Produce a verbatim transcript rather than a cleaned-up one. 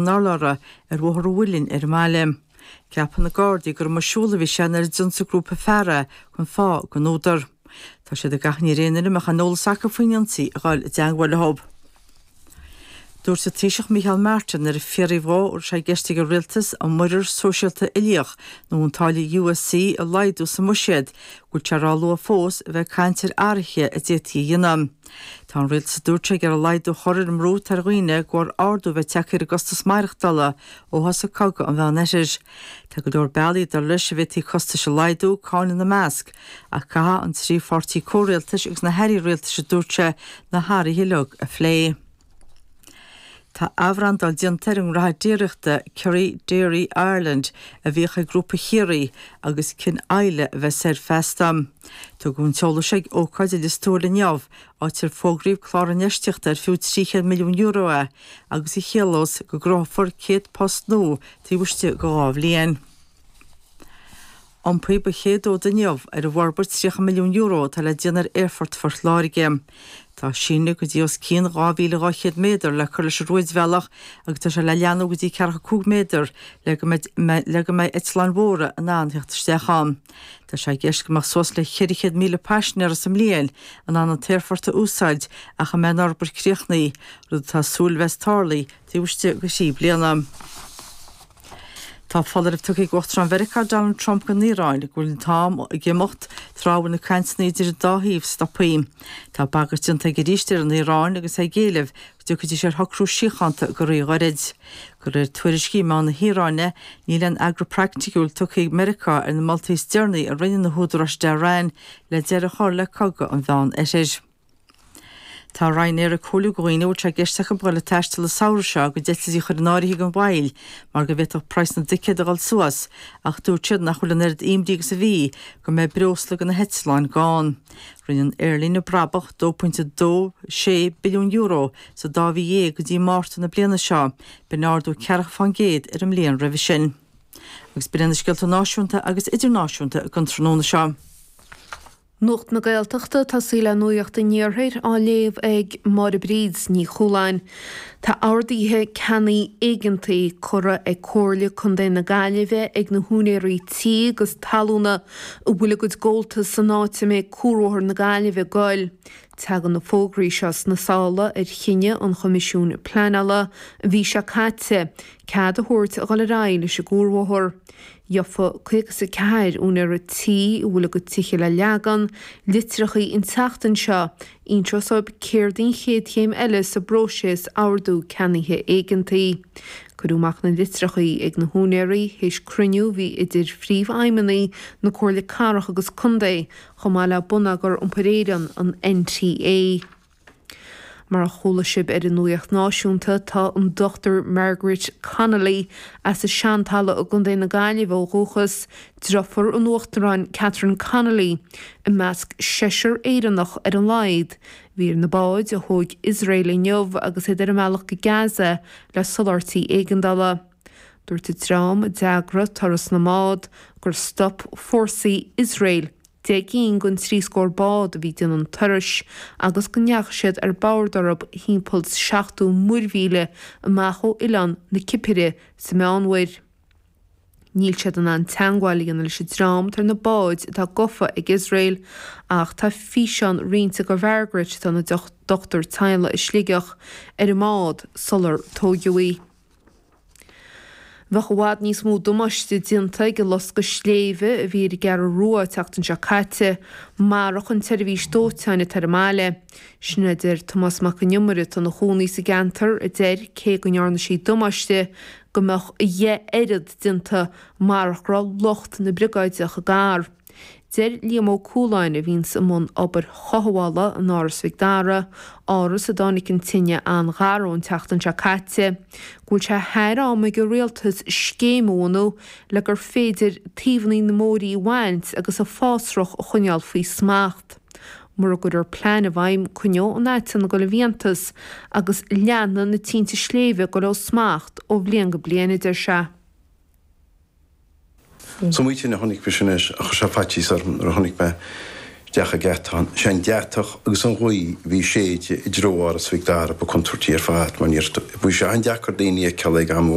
an urlabhra ar Bhóthar an Mhuilinn ar an mbaile. Ceapann na Gardaí gur amuigh ag siúl a bhí sé nuair a d'ionsaigh grúpa fear é gan fáth gan údar. Tá siad ag achainí ar aon duine a mbeadh aon eolas acu faoin ionsaí a dhul i dteagmháil leo. Dúirt an Taoiseach Micheál Martin nuair a fiafraíodh dhó an raibh sé i gceist ag an rialtas an muirear sóisialta uilíoch nó an táille U S C a laghdú sa mbuiséad, go bhfuil sé ró-luath fós a bheith ag caint ar athruithe a d'fhéadfaí a dhéanamh. Tá an rialtas, a dúirt sé, ag iarraidh laghdú a chur ar an mbrú atá ar dhaoine de bharr ardú a bheith tagtha ar a gcostas maireachtála ó thosaigh cogadh an Mheánoirthir. Tá go leor bealaí, dar leis, a bhféadfaí costais a laghdú, cáin ina measc, ach caithfidh an trí pháirtí comhrialtais agus na hairí rialtais, a dúirt sé, na hathruithe uilig a phlé. Tá athbhrandáil déanta ar an ngnóthaí déiríochta Kerry Dairy Ireland a bhíodh ag Grúpa Chiarraí agus Cinn Isle a bheas air feasta. Tugadh an t-eolas ag ócáid i Lios Tuathail inniu, áit ar fógraíodh clár infheistíochta ar fiú trí chéad milliún euro é agus a chiallós go gcruthófar céad post nua taobh istigh de dhá bhliain. Iompaíodh an chéad fhód inniu ar an bhforbairt tríocha milliún euro atá le déanamh ar Aerfort Phort Láirge. Tá síneadh go dtí os cionn dhá mhíle dhá chéad méadar le cur leis an rúidbhealach agus tá sé le leathnú go dtí ceathracha cúig méadar le go mbeidh le go mbeidh eitleáin mhóra in ann theacht isteach ann. Tá sé i gceist go mbeadh suas le ceithre chéad míle paisinéara sa mbliain in ann an t-aerfort a úsáid ach a mbeidh an fhorbairt críochnaithe, rud atá súil a bheas tarlaithe taobh istigh de thrí bliana. Tá foláireamh tugtha ag Uachtarán Mheiriceá Donald Trump don Iaráin go bhfuil an t-am ag imeacht tráth a bhfuil na cainteanna idir an dá thaobh stoptha. Tá bagairt déanta aige arís ar an Iaráin agus é ag éileamh go dtiocfaidís ar shocrú síochánta go ríghairid. De réir tuairiscí meán na hIaráine, níl aon fhreagra praiticiúil tugtha ag Meiriceá ar na moltaí is deireanaí a rinne na húdaráis i dTehran le deireadh a chur le cogadh an Mheánoirthir. Tá Ryanair ag comhairliú do dhaoine a bhfuil sé i gceist acu dul ag taisteal an samhradh seo a gcuid eitiltí a chur in áirithe gan mhoill mar go bhféadfadh praghas na dticéad a dhul suas, ach dúirt siad nach bhfuil an oiread imní agus a bhí go mbeidh breosla do na heitleáin gann. Rinne an aerlíne brabach dó pointe dó sé billiún euro sa dá mhí dhéag go dtí Márta na bliana seo, b'in ardú ceathracha faoin gcéad ar an mbliain roimhe sin. Agus b'in na scéalta náisiúnta agus idirnáisiúnta don tráthnóna seo. Nuacht na Gaeltachta tosaí le Nuacht an Iarthair á léamh ag Máire Bríd Ní Chualáin. Tá orduithe ceannaigh éigeantaigh curtha ag Comhairle Contae na Gaillimhe ag na húinéirí tí agus talúna a bhfuil a gcuid gabháltas san áit a mbeidh Cuarbhóthar na Gaillimhe ag goil. Tagann na fógraí seo sna sála ar chinneadh an Choimisiúin Pleanála an mhí seo caite cead a thabhairt a dhul ar aghaidh leis an gcuarbhóthar. Gheofa caoga is a ceathair úinéara tí a bhfuil a gcuid tithe le leagan, litreachaí an tseachtain seo, inseos dóibh céard an chéad chéim eile sa bpróiseas ordú ceannaithe éigeantaí. Cuireadh amach na litreachaí ag na húinéirí théis cruinniú a bhí idir phríomhfheidhmeannaigh na Comhairle Cathrach agus Contae chomh maith le Bonneagar Iompair Éireann, an N T A. Mar a chuala sibh ar an nuacht náisiúnta, tá an Dochtúir Margaret Connolly as an Seantalamh i gContae na Gaillimhe ó dhúchas, deirfiúr an Uachtaráin Catherine Connolly, i measc seisear Éireannach ar a laghad a bhí ar na báid a thóg Iosrael inniu agus iad ar a mbealach go Gaza le soláthairtí éigeandála. Dúirt an dream a d'eagraigh turas na mbád gur stop fórsaí Iosrael deich gcinn den trí scór bád a bhí déanamh an turais agus go ndeachaigh siad ar bord orthu timpeall seachtó muirmhíle amach ó oileán na Cipire sa Meánmhuir. Níl siad in ann teagmháil a dhéanamh leis an dream atá ar na báid atá gafa ag Iosrael, ach tá físeán roinnte de Mhargaret, atá ina dochtúir teaghlaigh i Sligeach, ar an mbád sular tógadh í. Bheadh i bhfad níos mó damáiste déanta ag an loscadh sléibhe a bhí ar an gCeathrú Rua an tseachtain seo caite marach an tseirbhís dóiteáin atá ar an mbaile. Sin a deir Tomás Mac an Iomaire, atá ina chónaí sa gceantar, a deir cé go ndearna sí damáiste go mbeadh a dheich oiread déanta marach go raibh lucht na briogáideach i gar. Deir Liam Ó Cualáin, a bhíonns i mbun obair chothabhála in Áras Mhic Dara, áras a dtáinig an tine an-ghar dó an tseachtain seo caite, go bhfuil sé thar am ag an rialtas scéim a bhunú le gur féidir taobhanna na mbóithrí a bhaint agus an fásrach a choinneáil faoi smacht. Mura gcuirfear plean i bhfeidhm, coinneoidh an aiteann ag dul i bhfiántas agus leanfaidh na tinte sléibhe ag dul ó smacht ó bhliain go bliain, a deir sé. So maoin a chonaic mé sin anois a chuir sé faitíos orm nuair a chonaic mé isteach ag geatán, sé an deatach agus an ghaoth a bhí ag séideadh i dtreo Áras Mhic Dara ba contúirtí ar fad mar níor, bhí sé an-deacair daoine a fheiceáil ag am amháin.